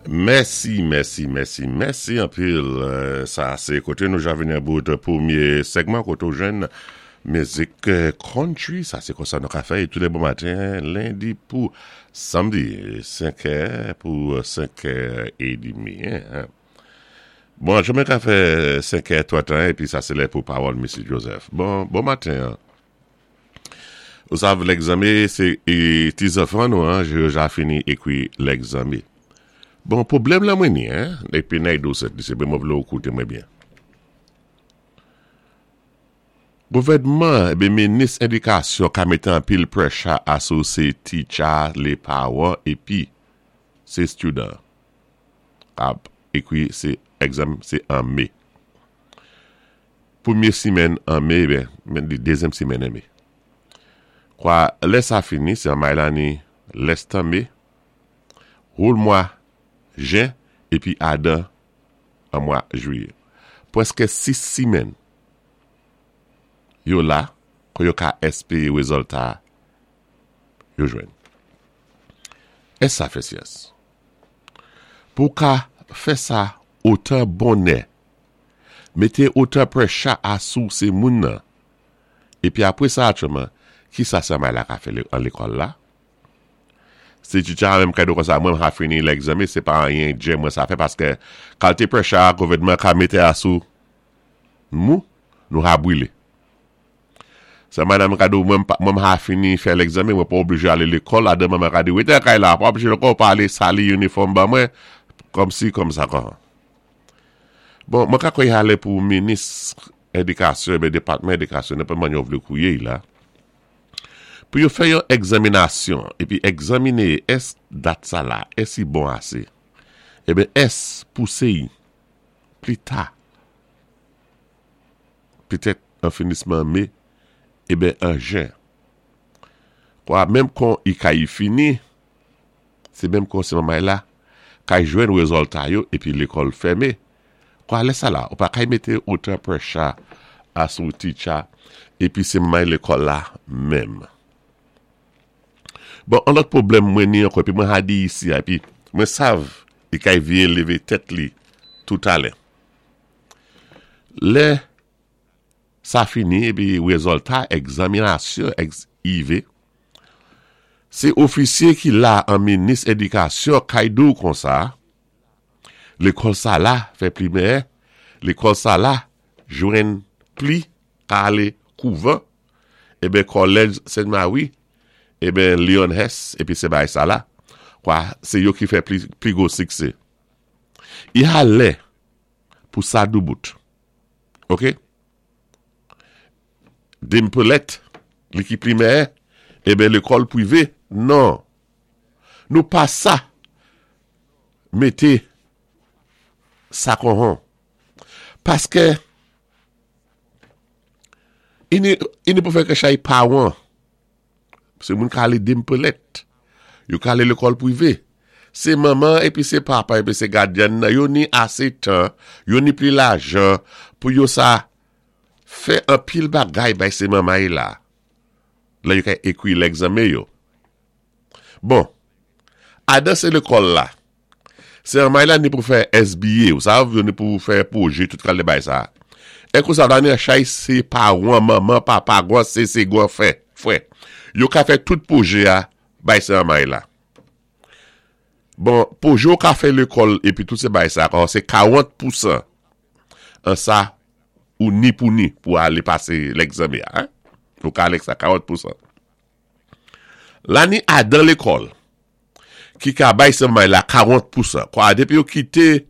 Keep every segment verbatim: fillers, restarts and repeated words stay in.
Mèsi, mèsi, mèsi, mèsi anpil. Sa sé koté nou ja vini an bout pwémyé segman koté ou jwenn mizik country. Sa sé konsa nou ka fè tou lé bon maten, lendi pou samdi, senkè pou senkè édmi. Bon, joumen ka fè senkè twantéen, épi sa sé lè pou pawòl Missus Joseph. Bon, bon maten. Ou sav lègzanmé, sé ti zanfan nou, an, yo ja fini ékwi lègzanmé. Bon, pwoblèm la mwen ni, hein, épi nèg dou sèt, di sé mwen vlé ou kouté mwen byen. Gouvèdman, ébi minis édikasyon ka mété anpil pressure asou sé teacher, lé pawan, épi sé student. Ap ékwi sé exam, sé an mé. Pwémyé simenn an mé, ben, men di dézyèm simenn an mé. Kwa, lè sa fini, sé an may la ni lès tan mé, roule mwa jen, épi adan an mwa jwiyé. Pwèské sis simenn yo la, kon yo ka èspéwé wézilta yo jwenn. Ès sa fè syans? Pou ka fè sa otan bonnè, mété otan pressure asou sé moun nan, épi apwé sa atwèman, ki sa sa may la ka fè an lékòl la? Si teacher a menm ka di kon sa, mwen ha fini lègzanmé, sé pa anyen djè mwen sa fè, paské kalité pressure gouvèdman ka mété asou mou, nou ha bwilé. Sa madame ka di, mwen mwen ha fini fè lègzanmé, mwen pa oblijé alé lékòl, adan mwen ka di, wété kay la, pa oblijé lékòl, pa alé sali inifòm ba mwen, kòm si, kòm sa kon. Bon, mwen ka kwè alé pou minis édikasyon, ben dépatman édikasyon, nenpòt man yo vlé kouwé la, pou yo fè yon egzaminasyon, épi egzaminé ès dat sa la, ès i bon asé, eben ès pousé yi, pli ta, petèt an finisman mé, eben an jen. Kwa, menm kon i ka yi fini, sé menm kon sé mamay la, kay jwenn wézilta yo, épi lékòl fèmé. Kwa, lè sa la, ou pa kay mété otan pressure asou teacher, épi sé mamay lékòl la menm. Bon, an lòt pwoblèm mwen ni ankò, épi mwen ha di isi, épi mwen sav, i kay vyé lévé tèt li toutalè. Lè sa fini, épi wézilta egzaminasyon ex I V, sé ofisyé ki la an minis édikasyon kay di ou kon sa, lékòl sa la fè pli mèyè, lékòl sa la jwenn pli ka alé kouvan, eben Collège Saint-Marie, eben Leon Hess, épi sé bay sa la, kwa sé yo ki fè pli, pli gwo siksé. I ha lè pou sa doubout. Ok? Dimpelet, li ki pli mèyè, eben lékòl pwivé, non. Nou pa sa mété sa kon hon. Paské ini, ini pou fè ke chay pawan, sé moun ka alé Dimpelet, yo ka alé lékòl pwivé. Sé manman épi sé papa épi sé gadyan nan, yo ni asé tan, yo ni pli lajan pou yo sa fè anpil bagay bay sé manmay la. Lè yo ka ékwi lègzanmé yo. Bon, adan sé lékòl la, sé manmay la ni pou fè S B A, ou sav, yo ni pou fè pwojé, tout kal de bay sa. E kou sa la ni chay sé pawan, manman, papa, gwan sé, sé gwan fè, fwè. Yo ka fè tout pwojé a bay sé manmay la. Bon, pwojé ou ka fè lékòl épi tout sé bay sa, kon sé karant pousan an sa ou ni pou ni pou alé pasé lègzanmé a. Hein? Ou ka alé sa karant pousan. La ni adan lékòl ki ka bay sé manmay la karant pousan. Kwa, dépi yo kité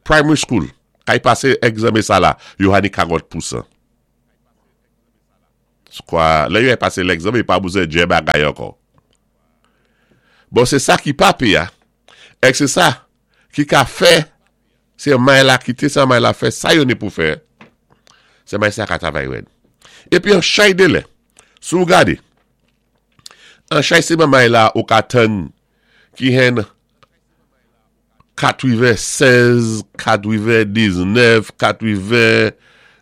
primary school, kay pasé egzanmé sa la, yo ha ni karant pousan. Kwa, lè yo ay pasé lègzanmé, yo pa bezwen djè bagay ankò. Bon, sé sa ki pa pi ya, ek sé sa ki ka fè, sé may la kité, sé may la fè, sa yo ni pou fè, sé may sa ka travay wèd. Épi an chay de lè, sou gade, an chay sé may la ou ka tann ki hen katwéven séz, katwéven diznèf, katwéven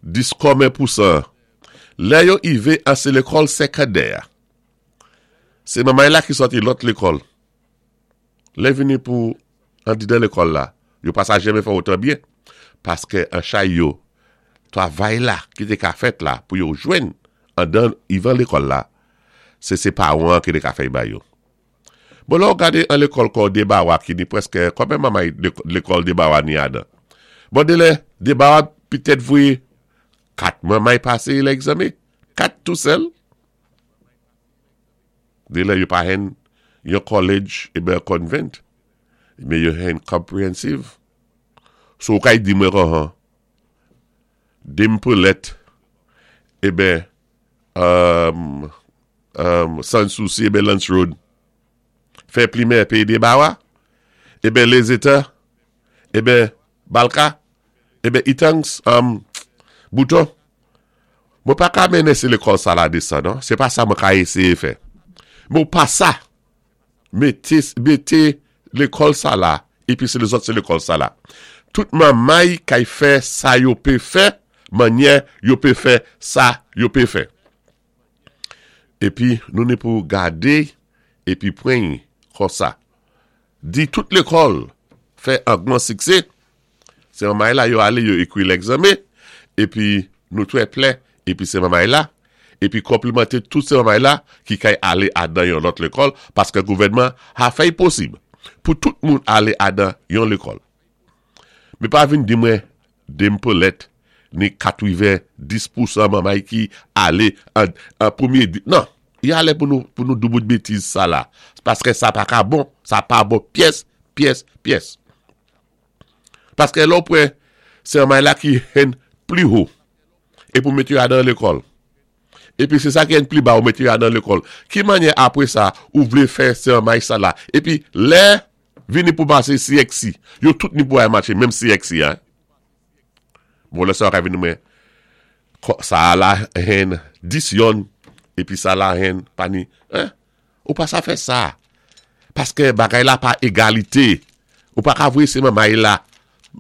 dis konmen pousan. Lè yo ivé an sé lékòl sékondè. Sé manmay la ki sòti lòt lékòl. Lè vini pou Andidan lékòl la, yo pa sa janmen fè otan byen, paskè an chay yo, twavay la ki té ka fèt la pou yo jwenn andan ivan lékòl la, sé sé pawan ki té ka fè ba yo. Bon lè ou gadé an lékòl kon Debawa ki ni prèskè, konbyen manmay lékòl Debawa ni adan? Bon délè, Debawa pitèt voyé kat manmay pasé lègzanmen, kat tou sèl. Délè yo pa hen yon college eben convent, men yo hen comprehensive. So ou kay di mwen kon Dame Pearlette, eben um, um, Sans Souci eben Lance Road, fè pli meyè pé Debawa, eben Les États, eben Balka, eben Itangs, um, Bouton. Mwen pa ka mennen sé lékòl sa la desann, non? Sé pa sa mwen ka éséyé fè. Mwen pa sa, mété, mété lékòl sa la, épi sé lézòt sé lékòl sa la. Tout manmay kay fè sa yo pé fè, mannyè yo pé fè sa yo pé fè. Épi nou ni pou gadé, épi pwen kon sa. Di tout lékòl fè an gwan siksé, sé manmay la yo alé yo ékwi lègzanmen, épi nou twè plè, épi sé manmay la, épi konplimanté tout sé manmay la ki kay alé adan yon lòt lékòl, paskè gouvèdman a fè posib pou tout moun alé adan yon lékòl. Mé pa vin di mwen Dame Pearlette ni katwiven-dis pousan manmay ki alé an, an pwémyé di, non, y alé pou nou, pou nou doubout bétiz sa la, paskè sa pa ka bon, sa pa bon pyès, pyès, pyès. Paskè lò pwen, sé manmay la ki hen pli ho, é pou mété yo adan lékòl. Épi sé sa ki hen pli ba ou mété yo adan lékòl. Ki mannyè apwé sa, ou vlé fè sé manmay sa la. Épi lè, vini pou pasé C X C, yo tout ni pou ay matché, menm C X C, hein. Bon, lè sa ka vini mwen, sa la hen dis yon, épi sa la hen pa ni, hein? Ou pa sa fè sa. Paskè bagay la pa égalité. Ou pa ka voyé sé manmay la,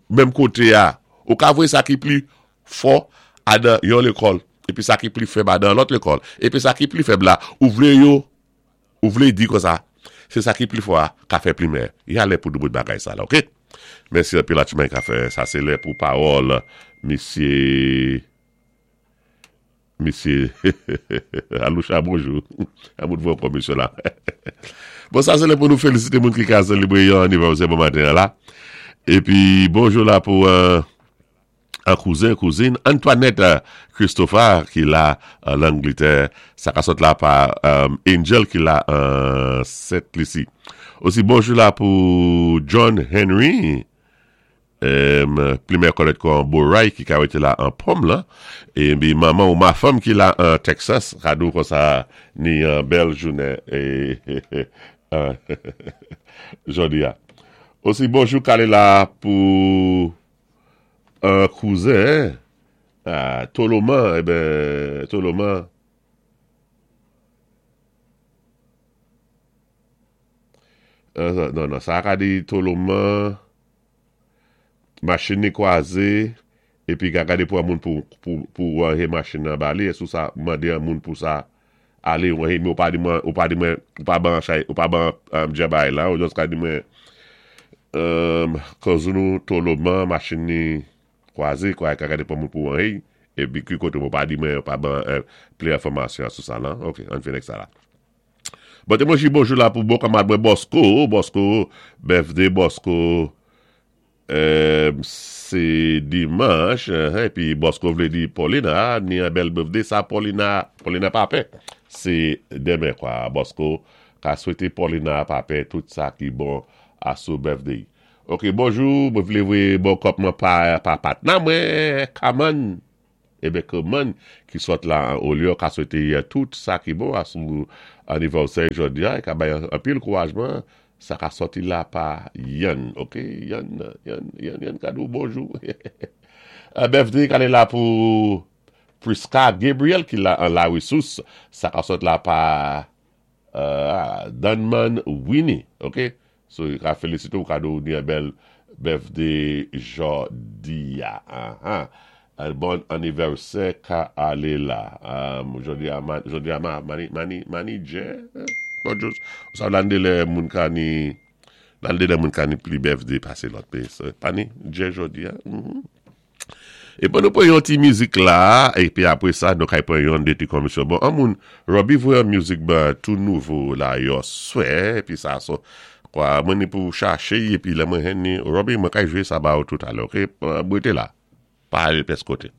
menm koté a. Ou ka voyé sa ki pli fò adan yon lékòl, épi sa ki pli fèb adan lòt lékòl. Épi sa ki pli fèb la, ou vlé yo, ou vlé di kon sa, sé sa ki pli fò a, ka fè pli meyè. Y alé pou doubout bagay sa la, ok? Mèsi anpil a tchoumen ka fè. Sa sé lè pou pawòl, misyé, misyé, Aloucha, bonjou. Amout vò kon misyé la. Bon, sa sé lè pou nou félisité moun ki ka sélébré yon anivèsè bon maten la. Épi, bonjou la pou euh, an kouzen, kouzin, Antoinette Christopher ki la an Angletè, sa ka sot la pa um, Angel ki la an Sent Lisi. Osi bonjou la pou John Henry, um, pli meyè konnèt kon Boray ki ka wété la an Pom la, épi manman ou mafanm ki la an Texas, kadou kon sa ni an bèl jounen é, jòdi a. Osi bonjou kalé la pou an kouzen, ah, Toloman, eben, Toloman, euh, non, non, sa ka di Toloman, machin ni kwazé, épi ka gadé pou an moun pou, pou, pou wanhé machin nan ba li, é sou sa mandé an moun pou sa alé wanhé, mé ou pa di mwen, ou pa di mwen, ou pa ban chay, ou pa ban um, djabay la, ou just ka di mwen, um, kozounou Toloman, machin ni kwazé, kwa ka gadé pou moun pou wanhé, épi ki koté ou pa di mwen, ou pa ban euh, pli enfòmasyon sou sa la, ok, an fini ak sa la. Bon, té mwen ji bonjou la pou bon kanmad mwen Bosco, Bosco, birthday Bosco, euh, sé dimanch, épi Bosco vlé di Paulina, ni an bèl birthday sa Paulina, Paulina pa pè, sé denmen kwa, Bosco ka swété Paulina pa pè tout sa ki bon a sou birthday. Ok, bonjou, mwen vlé voyé bon kòp mwen pa, pa patna mwen, Kaman, eben Kaman, ki sot la an Olio, ka swété tout sa ki bon a sou anivèsè jòdi a, ka bay an pil kourajman, sa ka soti la pa Yann, ok, Yann, Yann, Yann, Yann kadou, bonjou. Birthday kalé la pou Priska Gabriel ki la an La Ressource, sa ka sot la pa uh, Dunman Winnie, ok, so ka félisité ou kadou ni an bèl birthday jòdi a, aha. Un bon anniversaire ka alé la. Um, jòdi a, man, jòdi a ma, mani, mani, manager? Bonjou. Sa lande lè moun ka ni Nan de moun ka ni pli birthday pasé lòt pé. Pa ni, djé jòdi-a. É pi nou pwan yon ti mizik la, épi apwé sa, nou kay pwan yon dé ti komisyon. Bon, an moun, Robbie voyé yon mizik ba tou nouvo la, yo swè, épi sa so, kwa, mwen ni pou chaché, épi lè mwen jwenn ni, Robbie, mwen kay jwé sa ba ou toutalè, ok? Bwété la, pa alé pès koté.